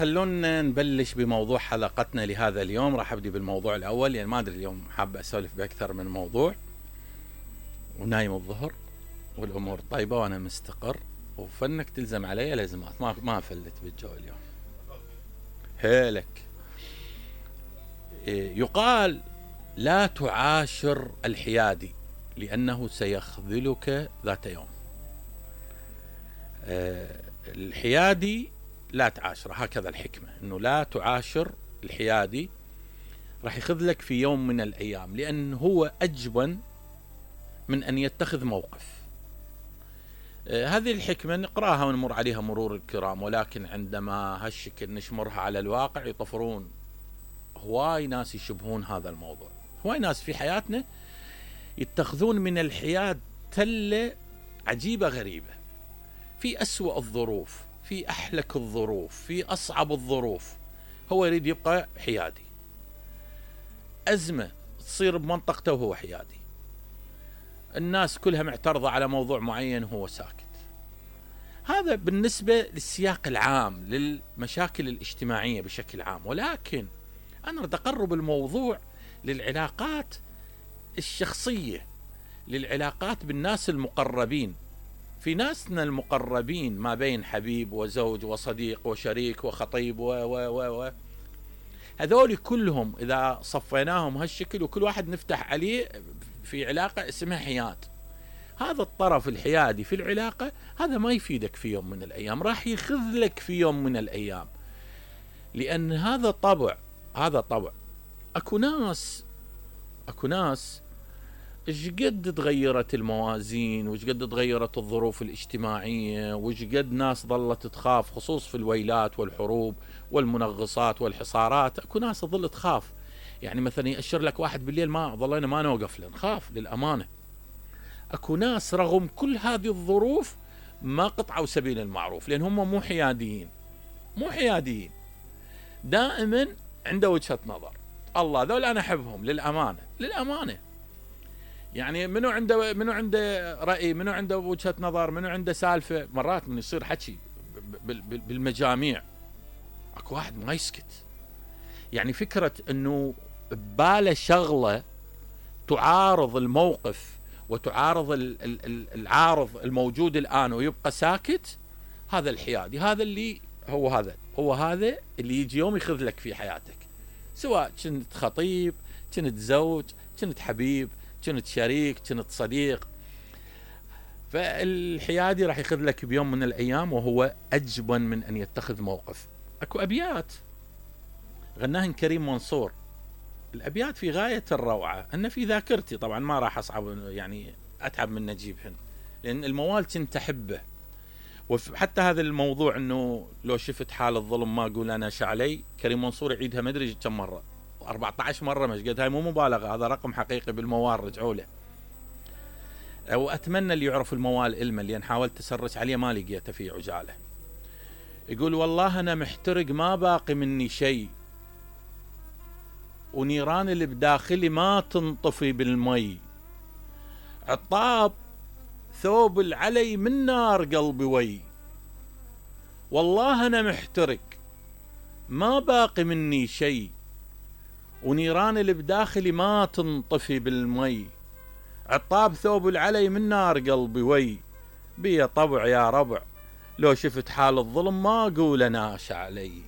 خلونا نبلش بموضوع حلقتنا لهذا اليوم. راح ابدي بالموضوع الاول، يعني ما ادري اليوم حاب اسولف باكثر من موضوع، ونايم الظهر والامور طيبه وانا مستقر، وفنك تلزم علي لازمات، ما افلت بالجو اليوم. هيلك يقال لا تعاشر الحيادي لانه سيخذلك ذات يوم. الحيادي لا تعاشره، هكذا الحكمة، انه لا تعاشر الحيادي، راح يخذلك في يوم من الايام، لان هو اجبن من ان يتخذ موقف. هذه الحكمة نقراها ونمر عليها مرور الكرام، ولكن عندما هالشكل نشمرها على الواقع يطفرون هواي ناس يشبهون هذا الموضوع. هواي ناس في حياتنا يتخذون من الحياد تلة عجيبة غريبة، في أسوأ الظروف، في أحلك الظروف، في أصعب الظروف، هو يريد يبقى حيادي. أزمة تصير بمنطقته وهو حيادي، الناس كلها معترضة على موضوع معين هو ساكت. هذا بالنسبة للسياق العام للمشاكل الاجتماعية بشكل عام، ولكن أنا أريد أقرب الموضوع للعلاقات الشخصية، للعلاقات بالناس المقربين. في ناسنا المقربين ما بين حبيب وزوج وصديق وشريك وخطيب و هذول كلهم إذا صفيناهم هالشكل وكل واحد نفتح عليه في علاقة اسمها حياد، هذا الطرف الحيادي في العلاقة هذا ما يفيدك في يوم من الأيام، راح يخذلك في يوم من الأيام، لأن هذا طبع. أكو ناس ايش قد تغيرت الموازين، وايش قد تغيرت الظروف الاجتماعية، وايش قد ناس ظلت تخاف، خصوص في الويلات والحروب والمنغصات والحصارات. اكو ناس تظل تخاف، يعني مثلا يأشر لك واحد بالليل ما ظلينا ما نوقف نخاف للأمانة. اكو ناس رغم كل هذه الظروف ما قطعوا سبيل المعروف، لان هم مو حياديين، دائما عنده وجهة نظر. الله ذول انا احبهم للأمانة، يعني منو عنده رأي، منو عنده وجهة نظر، منو عنده سالفة. مرات من يصير حكي بالمجاميع اكو واحد ما يسكت، يعني فكرة انه بباله شغلة تعارض الموقف وتعارض العارض الموجود الآن ويبقى ساكت، هذا الحيادي. هذا اللي هو هذا اللي يجي يوم يخذلك في حياتك، سواء كنت خطيب، كنت زوج، كنت حبيب، كنت شريك، كنت صديق. فالحيادي راح يخذلك بيوم من الأيام وهو أجبن من أن يتخذ موقف. أكو أبيات غناهن كريم منصور، الأبيات في غاية الروعة، أن في ذاكرتي طبعا ما راح أتعب من نجيبهن، لأن الموال كنت أحبه. وحتى هذا الموضوع أنه لو شفت حال الظلم ما أقول أنا شعلي، كريم منصور يعيدها ما أدري كم مرة، 14 مرة مش قد، هاي مو مبالغة، هذا رقم حقيقي بالموال، رجعوا له. وأتمنى اللي يعرف الموال علما، لأن حاولت أسرش عليه ما لقيته في عجالة. يقول والله أنا محترق ما باقي مني شيء، ونيران اللي بداخلي ما تنطفي بالمي، عطاب ثوب العلي من نار قلبي وي، والله أنا محترق ما باقي مني شيء، ونيران اللي بداخلي ما تنطفي بالمي، عطاب ثوب العلي من نار قلبي وي، بيا طبع يا ربع لو شفت حال الظلم ما أقول أنا شعلي.